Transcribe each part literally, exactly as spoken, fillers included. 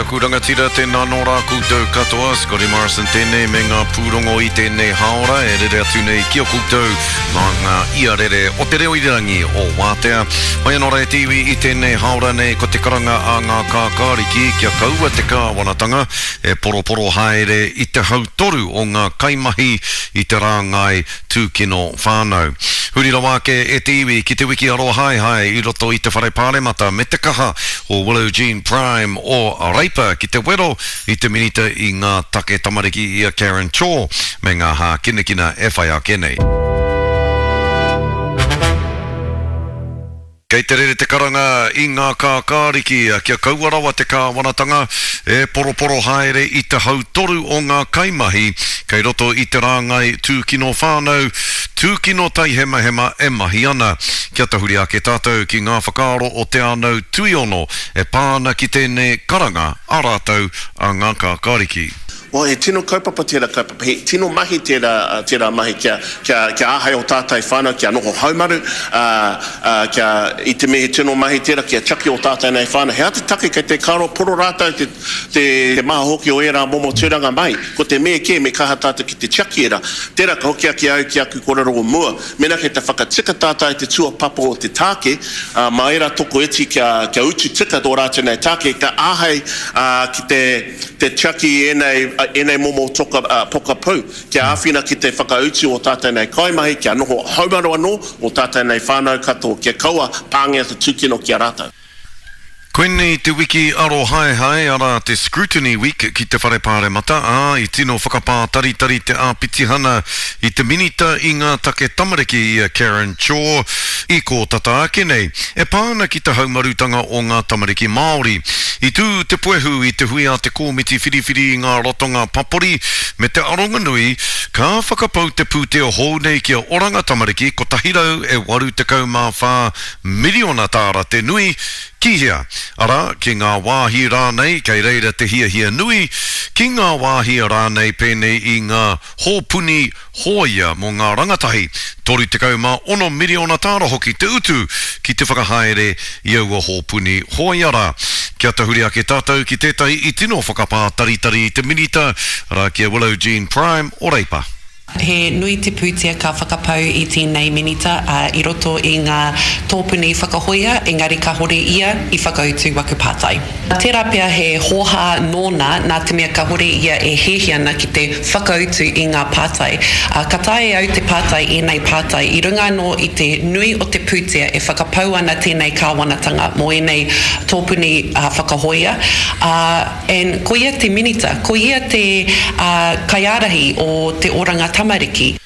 aku rangatira, tēnā nō rā koutou katoa. Scotty Morrison tēnei me ngā pūrongo i tēnei haora e rere atu nei ki a koutou mā ngā iarere o te reo irirangi o Wātea. Mai anō rā e te iwi i tēnei haora nei ko te karanga a ngā kākāriki kia kaua te kāwanatanga e poroporo haere i te hautoru o ngā kaimahi i te rāngai tūkino whānau. Huri rawa ake e te iwi ki te wiki arohaehae i roto i te whare pāremata me te kaha o Willow Jean Prime o Reipa ki te wero i te minita i ngā take tamariki i a Karen Chor me ngā hākinakina e whai ake nei. Kei te rere te karanga i ngā kākāriki kia kaua rawa te kāwanatanga e poroporo haere i te hautoru o ngā kaimahi kei roto i te rāngai tūkino whānau, tūkino taihemahema e mahi ana. Kia tahuri ake tātou ki ngā whakaaro o Te Anau Tuiono e pā ana ki tēnei karanga a rātou a ngā kākāriki. Well, he tino kaupapa tērā kaupapa, he tino mahi tērā, tērā mahi kia, kia, kia āhei o tātai whānau, kia noho haumaru, uh, uh, kia, i te mea he tino mahi tērā, kia tiaki o tātai nei whānau. He aha te take kei te karo poro rātou te, te, te maha hoki o ērā momo tūranga mai. Ko te mea kē me kaha tātou ki te tiaki ērā. Tērā ka hoki ake au ki aku kōrero o mua. Mēnā kei te whakatika tātai te tuapapa o te tāke, uh, mā ērā toko iti kia, kia utu tika tō rātou nei tāke, ka āhei uh, ki te, te tiaki ēnei, ēnei momo toka, uh, pokapū, kia āwhina ki te whakautu o tātou nei kaimahi, kia noho haumaru anō o tātou nei whānau katoa, kia kaua pāngia te tūkino ki a rātou. Koinei te wiki arohaehae, arā te Scrutiny Week ki te whare pāremata, ā, i tino whakapātaritari te āpitihana i te minita i ngā take tamariki i a Karen Chor i kōtata ake nei, e pā ana ki te haumarutanga o ngā tamariki Māori. I tū te puehu i te hui a te kōmiti whiriwhiri i ngā ratonga papori me te aronganui, ka whakapau te pūtea hou nei ki a Oranga Tamariki kotahi rau e waru tekau mā whā miriona tāra te nui, ki hea? Arā, ki ngā wāhi rānei kei reira te hiahia nui, ki ngā wāhi rānei pēnei i ngā hōpuni hōia mō ngā rangatahi, toru tekau mā ono miriona tāra hoki te utu ki te whakahaere i aua hōpuni hōia rā. Kia tahuri ake tātou ki tētahi i tino whakapātaritari i te minita, arā ki a Willow Jean Prime o Reipa. He nui te pūtea ka whakapau i tēnei minita uh, i roto i ngā tōpuni whakahoia, engari kahore ia i whakautu waku pātai. Tērā pea he hōhā nōna nā te mea kahore ia e hiahia ana ki te whakautu i ngā pātai. Uh, ka tae au te pātai ēnei pātai i runga anō i te nui o te pūtea e whakapau ana tēnei kāwanatanga mō ēnei tōpuni uh, whakahoia. Uh, and ko ia te minita, ko ia te uh, kaiārahi o te Oranga Tamariki.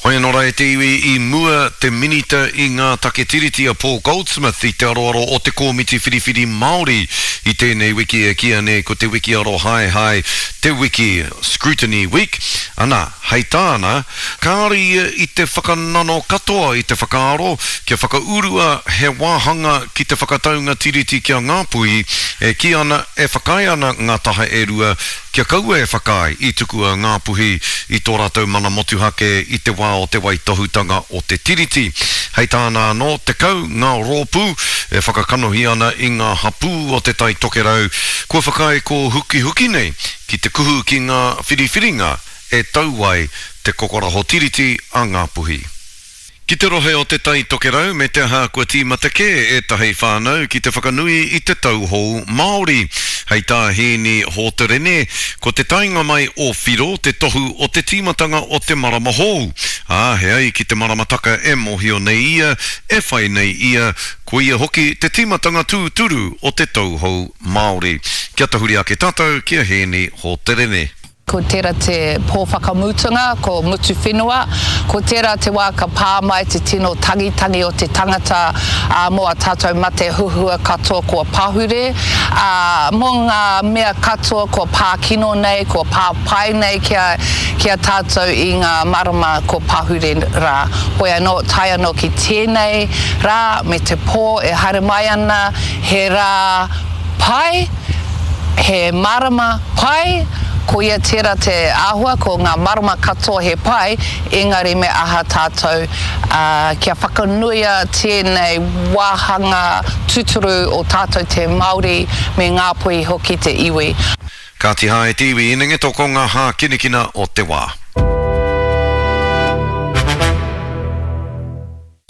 Hoi anō rā e te iwi i mua te minita i ngā take tiriti a Paul Goldsmith i te aroaro o te Kōmiti Whiriwhiri Māori i tēnei wiki e kīia nei ko te wiki arohaehae, te wiki Scrutiny Week. Ana, hei tāna, kāore ia i te whakanano katoa i te whakaaro kia whakaurua he wāhanga ki te whakataunga tiriti ki a Ngāpuhi e kī ana e whakaae ana ngā taha e rua kia kaua e whakaae i tukua Ngāpuhi i tō rātou mana motuhake i te wā o te waitohutanga o te tiriti. Hei tāna anō, tekau ngā rōpū e whakakanohi ana i ngā hapū o te Tai Tokerau kua whakaae kōhukihuki nei ki te kuhu ki ngā whiriwhiringa e tau ai te kokoraho tiriti a Ngāpuhi. Ki te rohe o te Tai Tokerau me te aha kua tīmata kē ētahi whānau ki te whakanui i te tau hou Māori. Hei tā Hēni Hōterene, ko te taenga mai o Whiro te tohu o te tīmatanga o te marama hou. Ā, he ai ki te maramataka e mōhio nei ia, e whai nei ia, ko ia hoki te tīmatanga tūturu o te tau hou Māori. Kia tahuri ake tātou ki a Hēni Hōterene. Ko tērā te pō whakamutunga, ko mutu whenua, ko tērā te wā ka pā mai te tino tangitangi o te tangata ā, mō a tātou mate huhua katoa kua pahure, ā, mō ngā mea katoa kua pā kino nei, kua pā pai nei ki a, ki a tātou i ngā marama kua pahure rā. Hoi anō, tae anō ki tēnei rā me te pō e haere mai ana, he rā pai, he marama pai, Koia tērā te āhua, ko ngā marama katoa he pai, engari me aha tātou kia whakanuia tēnei wāhanga tūturu o tātou te Māori me Ngāpuhi hoki te iwi. Kāti hā e te iwi inengeto ko ngā hākinakina o te wā.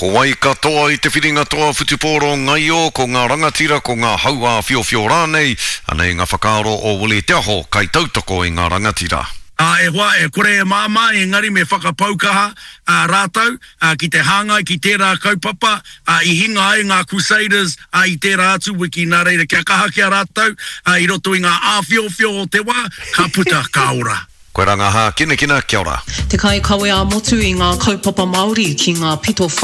Ko wai ka toa i te whiringa toa whutupōro ngaio, ko ngā rangatira, ko ngā hauā whiowhio rānei? Anei ngā whakaaro o Willie Te Aho, kaitautoko i ngā rangatira. Ā, e hoa, e kore e māmā, engari me whakapau kaha rātou ki te hāngai ki tērā kaupapa i hinga ai ngā Crusaders i tērā atu wiki, nā reira kia kaha ki a rātou i roto i ngā āwhiowhio o te wā, ka puta, ka ora. Koe rā ngā hākinakina, kia ora. Te kaikawe ā-motu i ngā kaupapa Māori ki ngā pito